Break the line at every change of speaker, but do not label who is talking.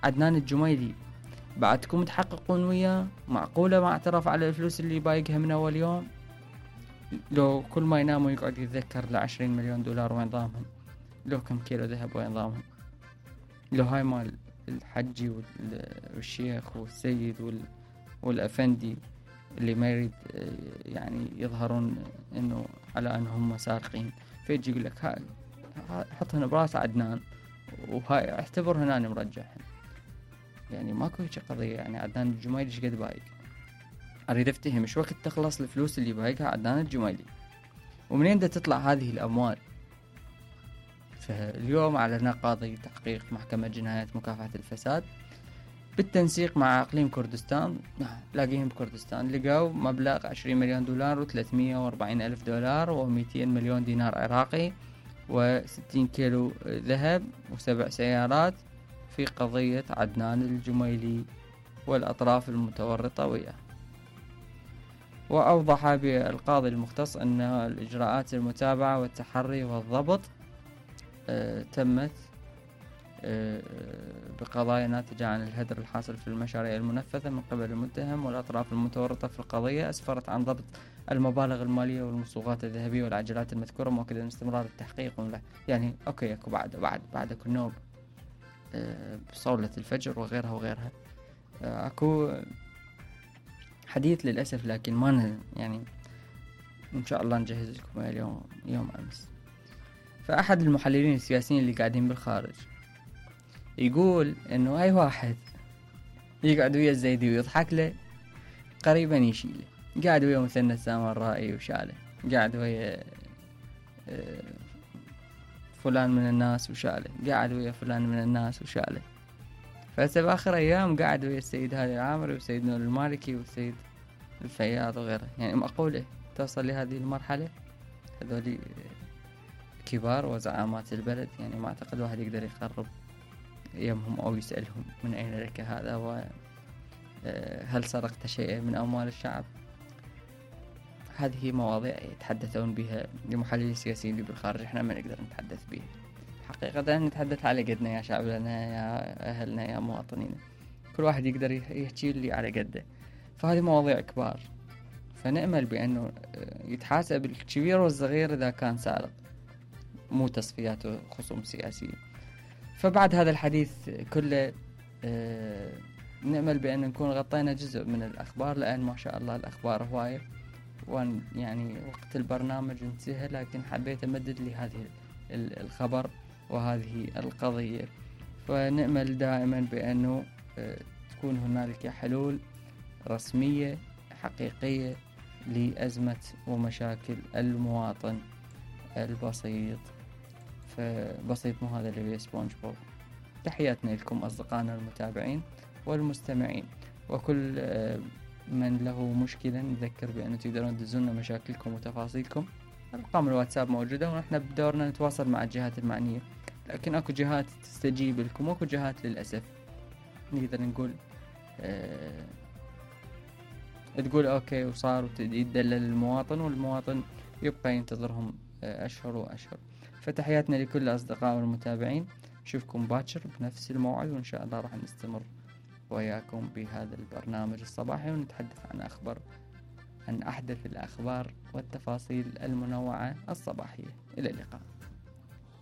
عدنان الجميلي بعدكم تحققون وياه؟ معقولة ما اعترف على الفلوس اللي بايقها من أول يوم؟ لو كل ما ينام ويقعد يتذكر ل20 مليون دولار وين ضامهم؟ لو كم كيلو ذهب وين ضامهم؟ لو هاي مال الحجي والشيخ والسيد والأفندي اللي ما يريد يعني يظهرون انه على انهم سارقين، فيجي يقول لك هاي حطهن براس عدنان وهاي اعتبر هنا مرجعهن. يعني ماكو هيك قضية. يعني عدنان الجميلي ايش قد بايق؟ اريد افتهم ايش وقت تخلص الفلوس اللي بايقها عدنان الجميلي، ومنين دا تطلع هذه الاموال؟ فاليوم اعلن قاضي تحقيق محكمة جنايات مكافحة الفساد بالتنسيق مع اقليم كردستان، لاقيهم بكردستان، لقوا مبلغ 20 مليون دولار و340 الف دولار و200 مليون دينار عراقي و60 كيلو ذهب و7 سيارات في قضية عدنان الجميلي والأطراف المتورطة وياه. وأوضح بالقاضي المختص أن الإجراءات المتابعة والتحري والضبط تمت بقضايا ناتجة عن الهدر الحاصل في المشاريع المنفذة من قبل المتهم والأطراف المتورطة في القضية، أسفرت عن ضبط المبالغ المالية والمصوغات الذهبية والعجلات المذكورة، مؤكدا استمرار التحقيق. يعني أوكي أكو بعد كل نوم بصولة الفجر وغيرها أكو حديث للأسف، لكن ما يعني إن شاء الله نجهز لكم اليوم يوم أمس. فأحد المحللين السياسيين اللي قاعدين بالخارج يقول إنه أي واحد يقعد ويا الزيدي ويضحك له قريبا يشيله، قاعد ويا مثنى السامرائي وشاله، قاعد ويا فلان من الناس وشاله، قاعد ويا فلان من الناس وشاله. فهسه بآخر أيام قاعد ويا السيد هادي العامري والسيد نور المالكي والسيد الفياض وغيره. يعني معقولة توصل لهذه المرحلة؟ هذول كبار وزعامات البلد، يعني ما أعتقد واحد يقدر يقرب يمهم أو يسألهم من أين لك هذا، وهل سرقت شيئا من أموال الشعب؟ هذه مواضيع يتحدثون بها المحللين السياسيين اللي بالخارج، احنا ما نقدر نتحدث بها حقيقة. نتحدث على قدنا يا شعبنا يا أهلنا يا مواطنين، كل واحد يقدر يحكي اللي على قده. فهذه مواضيع كبار، فنأمل بأنه يتحاسب الكبير والصغير إذا كان سارق، مو تصفيات وخصوم سياسية. فبعد هذا الحديث كله نأمل بأن نكون غطينا جزء من الأخبار، لأن ما شاء الله الأخبار هواية، وأن يعني وقت البرنامج انتهى، لكن حبيت أمدد لهذه الخبر وهذه القضية. فنأمل دائما بأنه تكون هنالك حلول رسمية حقيقية لأزمة ومشاكل المواطن البسيط. فبسيط مو هذا اللي بيه سبونج بوب. تحياتنا لكم أصدقائنا المتابعين والمستمعين، وكل من له مشكلة نذكر بأنه تقدرون تدزونا مشاكلكم وتفاصيلكم. أرقام الواتساب موجودة، ونحن بدورنا نتواصل مع الجهات المعنية، لكن أكو جهات تستجيب لكم وأكو جهات للأسف نقدر نقول تقول أوكي وصار ويدلل المواطن، والمواطن يبقى ينتظرهم أشهر وأشهر. فتحياتنا لكل الأصدقاء والمتابعين، نشوفكم باكر بنفس الموعد، وإن شاء الله راح نستمر وياكم بهذا البرنامج الصباحي، ونتحدث عن أحدث الأخبار والتفاصيل المنوعة الصباحية. إلى اللقاء.